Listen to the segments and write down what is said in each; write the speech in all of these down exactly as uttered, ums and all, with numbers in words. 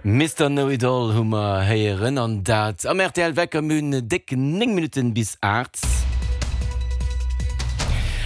Mister Know It All hu mer héieren an dat am rtl Wecker. Mir hunn déck néng Minutten bis aacht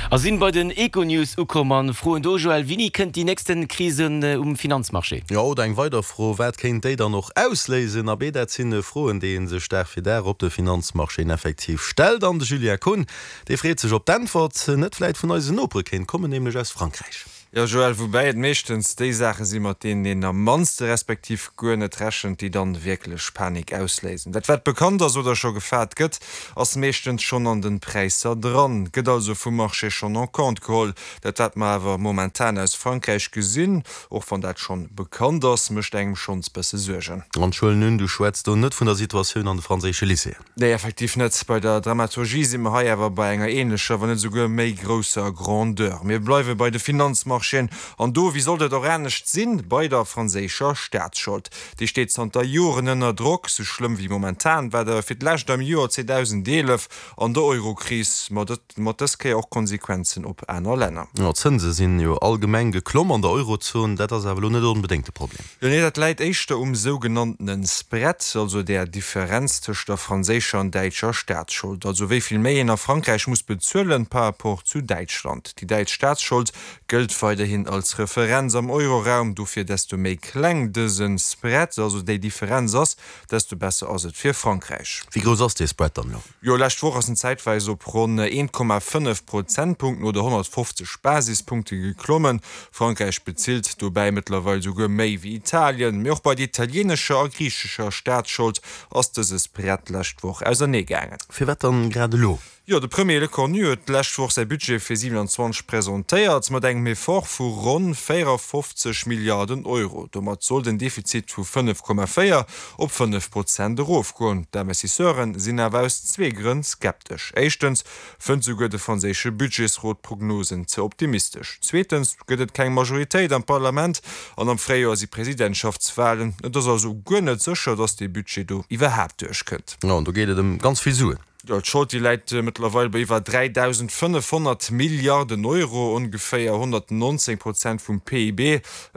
a sinn bei den Econews ukomm an froen do, Joël, wéini kënnt déi nächsten Krise um Finanzmarché? Jo, oder eng weider Fro, Wat kéint déi dann och ausléisen? Abee, dat sinn Froen, déi ee sech Dag fir Dag op de Finanzmarchéen effektiv stellt. An de Julien Kohn, dee freet sech, ob d'Äntwert net vläit vun eisen Nopere kéint kommen, nämlech aus Frankräich. Jo Joël, woubäi et meeschtens déi Saache si mat deenen een am mannste respektiv guer net rechent, déi dann wierklech Panik ausléisen. Dat wat bekannt ass oder scho gefaart gëtt, ass meeschtens schonn an den Präisser dran, gëtt also vum Marché schonn en compte geholl. Dat wat mer awer momentan aus Frankräich gesinn, och wann dat schonn bekannt ass, mécht engem schonns bësse Suergen. An ech huelen un, du schwätz do net vun der Situatioun an de franséische Lycéeën? Nee, effektiv net. Bei der Dramaturgie si mer hei awer bei enger ähnlecher, wann net esouguer méi grousser Grandeur. Mir bleiwe bei de Finanzmarchéen an do, wéi sollt et och anescht sinn, bei der franséischer Staatsschold. Déi steet zanter Joren ënner Drock. Sou schlëmm wéi momentan war et fir d'lescht am Joer zweedausendeelef an der Eurokris, ma mat dës Kéier och Konsequenzen op aner Länner. Jo, d'Zënse sinn jo allgemeng geklomm an der Eurozon. Dat ass awer elo net onbedéngt de Problem. Jo, nee, dat läit éischter um sougenanntene Spread, also där Differenz tëscht der franséischer an däitscher Staatsschold, also wéi vill méi een a Frankräich muss bezuelen par rapport zu Däitschland. Déi däitsch Staatsschold gëllt weiderhin als Referenz am Euroraum, dofir desto méi kleng dëse Spread, also déi Differenz ass, desto besser ass et fir Frankräich. Wéi grouss ass dee Spread dann elo? Jo, lescht Woch ass en zäitweis op ronn een Komma fënnef Prozentpunkten oder honnertfofzeg Basispunkte geklommen. Frankräich bezilt dobäi mëttlerweil souguer méi wéi Italien. Mee och bei der italieenescher a griichescher Staatsschold ass dëse Spread d'lescht Woch ausernee gaangen. Firwat dann grad elo? Jo, de Premier Lecornu huet d'lescht Woch säi Budget fir siewenanzwanzeg presentéiert, mat engem Effort vu ronn véierafofzeg Milliarden Euro. Domat soll den Defizit vu fënnef Komma véier op fënnef Prozent erofgoen. D'Investisseure sinn awer aus zwee Grënn skeptesch. Éischtens fënnt souguer de franséische Budgetsrot d'Prognosen ze optimistesch. Zweetens gëtt et keng Majoritéit am Parlament an am Fréijoer si Presidentschaftswalen. Et ass also guer net sécher, datt dee Budget do iwwerhaapt duerchkënnt. Jo, an do geet et ëm ganz vill Suen. Jo, d'Schold, déi läit mëttlerweil bei iwwer dräidausendfënnefhonnert Milliarden Euro, ongeféier honnertnonzéng Prozent vum P I B.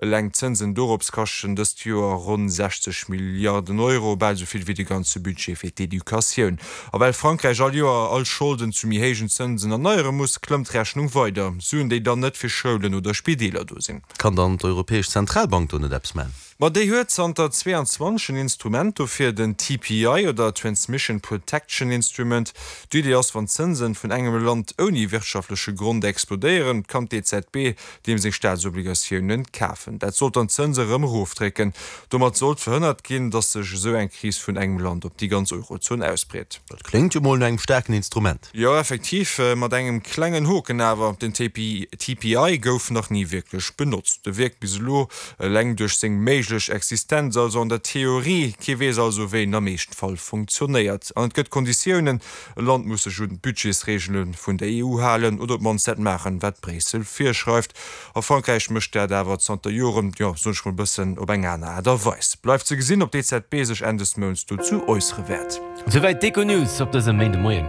Eleng d'Zënsen dorops kaschten dëst Joer ronn sechzeg Milliarden Euro, bal esou vill wéi de ganze Budget fir d'Educatioun. A well Frankräich all Joer all Scholden zu méi héijen Zënsen erneiere muss, klëmmt d'Rechnung weider. Suen, déi dann net fir Schoulen oder Spideeler do sinn. Kann dann d'Europäesch Zentralbank do net eppes man? Ma déi huet zanter zweeanzwanzeg en Instrument dofir, den T P I oder Transmission Protection Instrument. D'Idee ass, wann d'Zënsen vun engem Land ouni wirtschaftleche Grond explodéieren, kann d'E Z B deem seng Staatsobligatiounen kafen. Dat sollt dann d'Zënse rëm erofdrécken. Domat sollt verhënnert ginn, datt sech esou eng Kris vun engem Land op déi ganz Eurozon ausbreet. Dat kléngt jo mol no engem staarken Instrument. Jo, effektiv, mat engem klengen Hoken awer, den T P I gouf nach ni wierklech benotzt. E wierkt bis elo eleng duerch seng méiglech Existenz, also an der Theorie. Kee weess also, wéi en am Eeschtfall funktionéiert. An et gëtt Konditiounen, E Land muss sech un d'Budgetsreegele vun der E U halen oder op d'mannst dat maachen, wat Bréissel virschreift. A Frankräich mécht dat awer zanter Joren, jo, soen ech mol, bëssen op eng aner Aart a Weis. Bleift ze gesinn, ob d'E Z B sech Enn des Mounts dozou äussere wäert. Souwäit d'Econews op dësem Méindemoien.